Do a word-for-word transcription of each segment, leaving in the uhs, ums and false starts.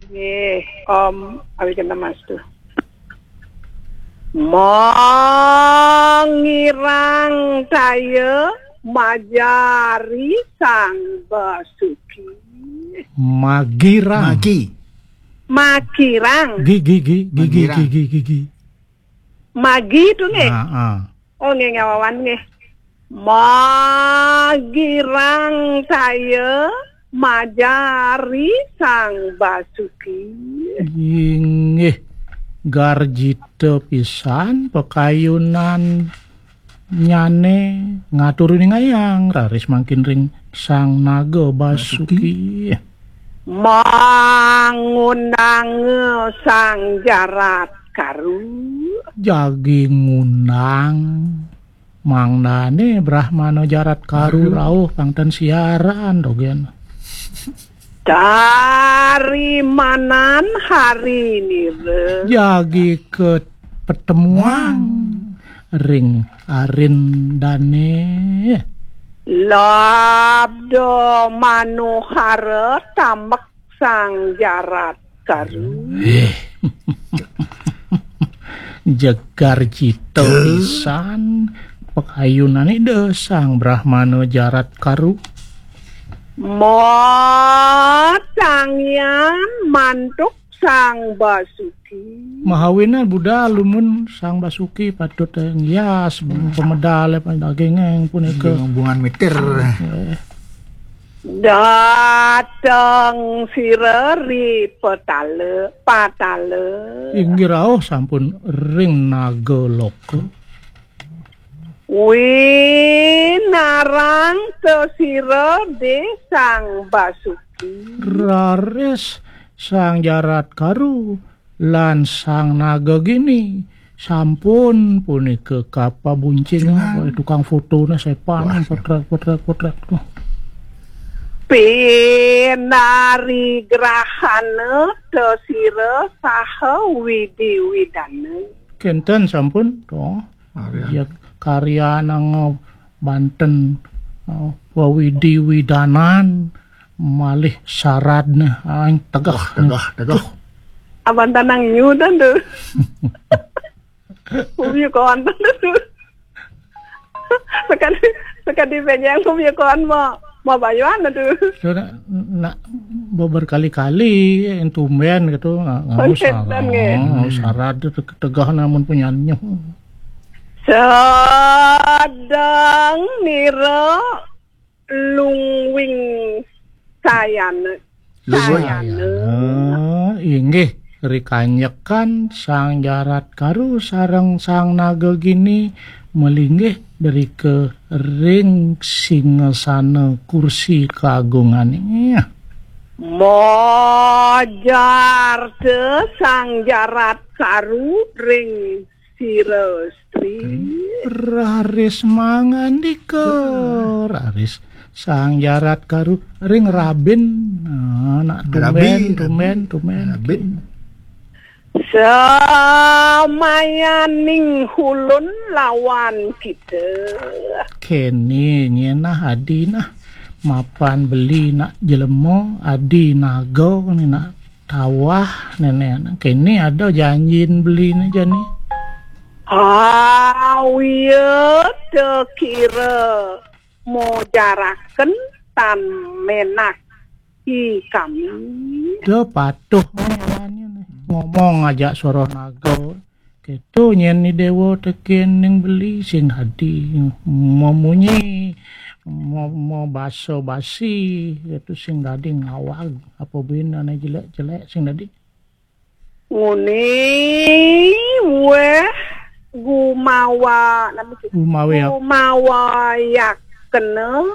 Nggih, Om, awi kena Mas tuh. Mangirang saya majari Sang Basuki. Magirang. Magi. Magirang. Gi, gi, gi, gi, gi, Magirang. Gi, gi, gi, gi. Magi tuh nggih. Ah, ah. Oh, nggih, ngawawan nggih. Magirang saya majari Sang Basuki. Inggih, garjita pisan pakayunan nyane ngatur ningayang, raris mangkin ring Sang Naga Basuki. Basuki. Mangundang Sang Jarat Karu. Jagi ngundang. Mangdane Brahmana Jarat Karu Aduh. Rauh pang ten siaran dogen. Tarimanan hari nira. Jagi ke pertemuan ring arindane. Labda manuhara tambek Sang Jarat Karu. Eh. Jegar cita Duh. Pisan pakayunan Ida Sang Brahmana Jarat Karu. Matangian mantuk Sang Basuki. Mahawinan budal lumun Sang Basuki patut ngias pemedal daging punika. Hubungan mitir. Eh. Dateng sira ri petala, patala. Inggih rauh sampun ring naga loka. Winarang tesira de Sang Basuki. Raris Sang Jarat Karu lan Sang Naga Gini sampun punika kapabuncing. Jenengan. Tukang fotone sepan. Wah, potret, potret, potret tuh. Pinarigrahana tesira saha widi widana. Kenten sampun to. Karyan. Ya, karyan banten, eh, wawidi widanan malih saradne aing tegeh. Wah, tegeh, tegeh. Abantan nang nyudan tuh. Ubi konten tuh. Sekadi, sekadi pejeng ubi kon mau, mau bayuan tuh. Sudah nak berkali-kali yang tumben gitu, nggak, nggak usah. Konten nggih. Oh, sarad itu tegeh namun punyanya. Sedang nira lungwing sayana. Lungwing. Sayana. Sayana, inggih, rikanyekan Sang Jarat Karu sareng Sang Naga Gini malinggih drika ring singasana kursi kagungane. Mojar te Sang Jarat Karu ring sira stri. Raris mangandika, raris Sang Jarat Karu ring rabin. Nah, nak tumben, rabin, tumben, rabin. Tumben. Rabin. Samayaning hulun lawan kita. Kene nyenah adi nah mapan beli nak jelema adi naga ni nak tawah nenek. Kene ada janjin beli ni jani. Awia tekira mojaraken tan menak i kami. Da patuh ngomong ajak soroh naga. Keto nyen ni dewa teken ning beli sing dadi memunyi, mo, mo basa basi, keto sing dadi ngawag apa bina ne jelek-jelek sing dadi. Nguni weh gumawa, napa sih? Gumawa yak-, gumawa yakena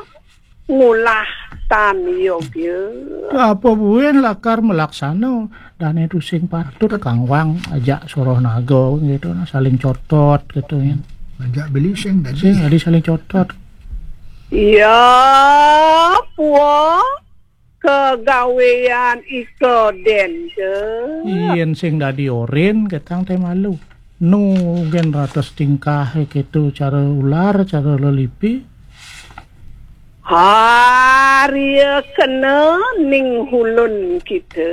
ngulah tan yogya. Apa buin lakar melaksana dane tu sing patut kangwang ajak soroh naga gitu, nah, saling cotot gitu ya. Ajak beli sing dadi. Sing dadi saling cotot. Iya, puo. Kegawean ika dente. Yen sing dadi orin ketang te malu. Nu gen ratus tingkah keto cara ular, cara lelipi. Haria kena ning hulun kita.